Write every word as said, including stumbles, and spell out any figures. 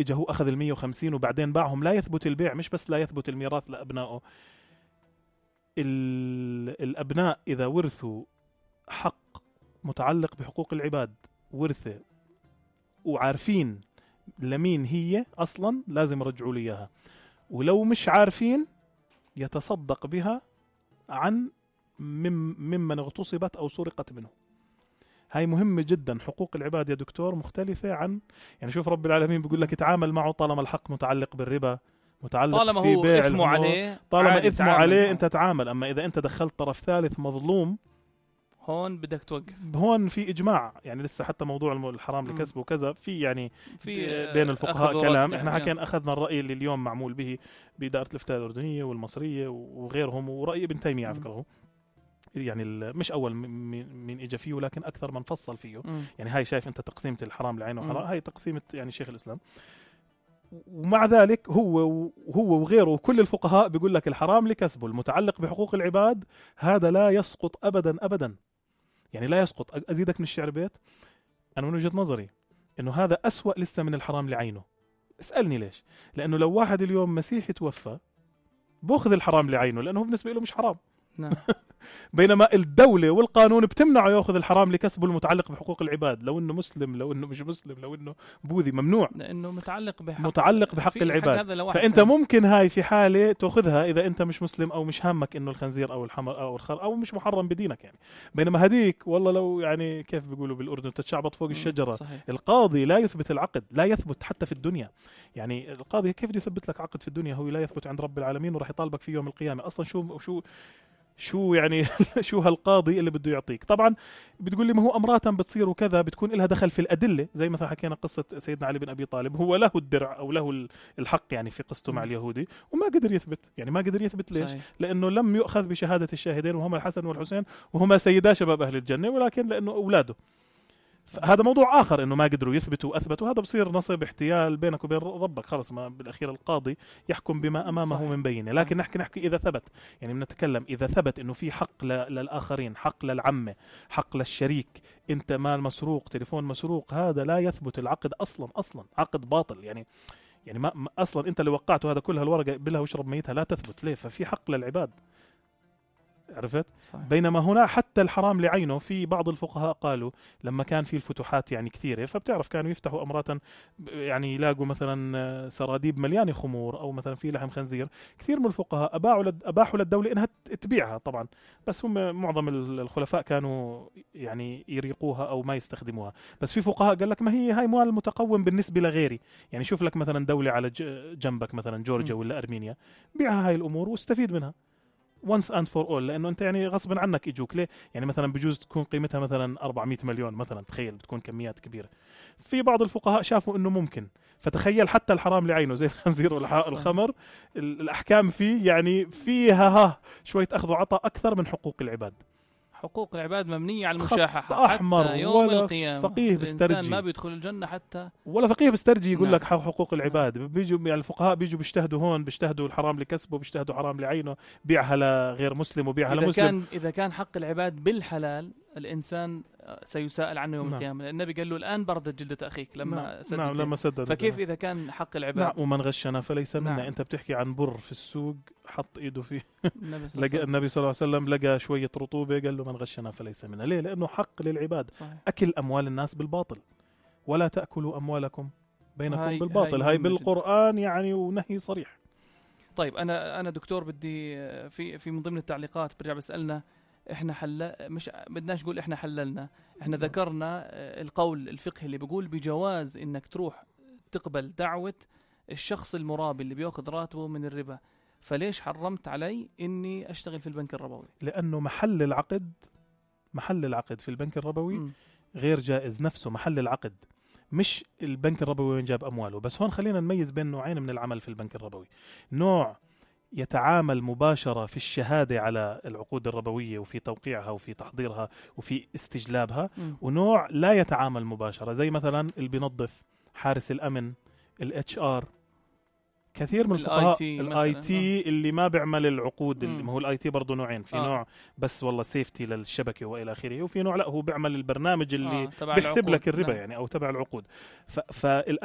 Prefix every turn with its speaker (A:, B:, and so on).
A: إجا هو أخذ المية وخمسين وبعدين باعهم، لا يثبت البيع، مش بس لا يثبت الميراث لأبنائه. الأبناء إذا ورثوا حق متعلق بحقوق العباد ورثة وعارفين لمين هي أصلا لازم يرجعوا لي إياها، ولو مش عارفين يتصدق بها عن ممن اغتصبت أو سرقت منه. هاي مهمة جدا. حقوق العباد يا دكتور مختلفة عن، يعني شوف رب العالمين بيقول لك اتعامل معه طالما الحق متعلق بالربا، متعلق
B: طالما
A: في
B: هو
A: بيع
B: إثمه عليه،
A: طالما إثمه عليه انت تعامل. اما اذا انت دخلت طرف ثالث مظلوم
B: هون بدك توقف.
A: هون في اجماع، يعني لسه حتى موضوع الحرام لكسبه وكذا في يعني
B: في
A: بين الفقهاء كلام. احنا
B: يعني
A: حكينا اخذنا الراي اللي اليوم معمول به باداره الافتاء الاردنيه والمصريه وغيرهم، وراي ابن تيميه على فكره، يعني مش اول من اجى فيه ولكن اكثر من فصل فيه.
B: م.
A: يعني هاي شايف انت تقسيمه الحرام لعينه وحرام، هاي تقسيمه يعني شيخ الاسلام. ومع ذلك هو وهو وغيره وكل الفقهاء بيقول لك الحرام لكسبه المتعلق بحقوق العباد هذا لا يسقط ابدا ابدا، يعني لا يسقط. ازيدك من الشعر بيت، انا من وجهة نظري انه هذا أسوأ لسه من الحرام لعينه. اسألني ليش؟ لانه لو واحد اليوم مسيحي توفى باخذ الحرام لعينه لانه بالنسبه له مش حرام.
B: نعم.
A: بينما الدولة والقانون بتمنعه يأخذ الحرام لكسبه المتعلق بحقوق العباد، لو انه مسلم لو انه مش مسلم لو انه بوذي، ممنوع،
B: لانه متعلق بحق
A: متعلق بحق العباد. فانت فهم. ممكن هاي في حالة تأخذها اذا انت مش مسلم او مش هامك انه الخنزير او الحمر او الخر او مش محرم بدينك يعني. بينما هديك والله لو يعني كيف بيقولوا بالاردن تتشعبط فوق الشجرة.
B: صحيح.
A: القاضي لا يثبت العقد، لا يثبت حتى في الدنيا. يعني القاضي كيف بده يثبت لك عقد في الدنيا هو لا يثبت عند رب العالمين وراح يطالبك فيه يوم القيامة. اصلا شو شو شو يعني شو هالقاضي اللي بده يعطيك؟ طبعا بتقول لي ما هو أمراتا بتصير وكذا بتكون لها دخل في الأدلة، زي مثلا حكينا قصة سيدنا علي بن أبي طالب، هو له الدرع أو له الحق يعني في قصته مع اليهودي وما قدر يثبت. يعني ما قدر يثبت ليش؟ صحيح. لأنه لم يؤخذ بشهادة الشاهدين وهما الحسن والحسين وهما سيدا شباب أهل الجنة، ولكن لأنه أولاده. هذا موضوع آخر إنه ما قدروا يثبتوا وأثبتوا، هذا بصير نصب احتيال بينك وبين ربك خلص. ما بالأخير القاضي يحكم بما أمامه صحيح. من بينه. لكن نحكي نحكي إذا ثبت، يعني بنتكلم إذا ثبت إنه في حق للآخرين، حق للعمة، حق للشريك، أنت مال مسروق، تليفون مسروق، هذا لا يثبت العقد أصلا أصلا عقد باطل. يعني يعني ما أصلا أنت اللي وقعته هذا كل هالورقة بلها واشرب ميتها لا تثبت. ليه؟ ففي حق للعباد، عرفت؟ صحيح. بينما هنا حتى الحرام لعينه في بعض الفقهاء قالوا لما كان في الفتوحات يعني كثيرة، فبتعرف كانوا يفتحوا أمراتا يعني يلاقوا مثلا سراديب مليانة خمور أو مثلا في لحم خنزير، كثير من الفقهاء أباحوا لد أباحوا للدولة إنها تبيعها طبعا، بس هم معظم الخلفاء كانوا يعني يريقوها أو ما يستخدموها. بس في فقهاء قال لك ما هي هاي مال متقوم بالنسبة لغيري، يعني شوف لك مثلا دولة على جنبك مثلا جورجيا ولا أرمينيا، بيعها هاي الأمور واستفيد منها once and for all، لأنه أنت يعني غصبا عنك يجوك. ليه؟ يعني مثلا بجوز تكون قيمتها مثلا أربعمية مليون مثلا، تخيل بتكون كميات كبيرة. في بعض الفقهاء شافوا إنه ممكن، فتخيل حتى الحرام لعينه زي الخنزير والخمر الأحكام فيه يعني فيها ها شوية أخذ وعطاء أكثر من حقوق العباد.
B: حقوق العباد ممنية على المشاحة
A: أحمر
B: حتى يوم
A: ولا
B: القيامة.
A: فقيه بيسترجي
B: ما بيدخل الجنة حتى
A: ولا فقيه بيسترجي يقول
B: نعم.
A: لك حقوق العباد. نعم. بيجوا يعني الفقهاء بيجوا بيجتهدوا هون، بيجتهدوا الحرام لكسبه، بيجتهدوا حرام لعينه، بيعها لغير مسلم وبيعها
B: إذا
A: لمسلم.
B: كان إذا كان حق العباد بالحلال الإنسان سيسأل عنه يوم نعم. القيامة. النبي قال له الآن بردت جلدة أخيك لما
A: نعم.
B: سدد.
A: نعم. لما سدد.
B: فكيف إذا كان حق العباد؟
A: نعم. ومن غشنا فليس منا.
B: نعم.
A: أنت بتحكي عن بر في السوق حط إيده فيه لقى النبي صلى الله عليه وسلم لقى شوية رطوبة قال له من غشنا فليس منا. ليه؟ لأنه حق للعباد. صحيح. أكل أموال الناس بالباطل، ولا تأكلوا أموالكم بينكم هاي بالباطل. هاي, هاي بالقرآن يعني ونهي صريح.
B: طيب أنا أنا دكتور بدي في في من ضمن التعليقات برجع بسألنا إحنا حل مش بدناش نقول إحنا حللنا، إحنا ذكرنا القول الفقهي اللي بيقول بجواز إنك تروح تقبل دعوة الشخص المرابي اللي بيأخذ راتبه من الربا، فليش حرمت علي إني أشتغل في البنك الربوي؟
A: لأنه محل العقد محل العقد في البنك الربوي م. غير جائز. نفسه محل العقد، مش البنك الربوي وين جاب أمواله. بس هون خلينا نميز بين نوعين من العمل في البنك الربوي. نوع يتعامل مباشرة في الشهادة على العقود الربوية وفي توقيعها وفي تحضيرها وفي استجلابها م. ونوع لا يتعامل مباشرة، زي مثلا اللي بينظف، حارس الأمن، الاتش ار. كثير من الفقهاء الاي تي اللي ما بيعمل العقود، ما هو الاي تي برضه نوعين، في آه. نوع بس والله سيفتي للشبكه والى اخره، وفي نوع لا هو بيعمل البرنامج اللي آه. بيحسب لك الربا. نعم. يعني او تبع العقود. فالاعمال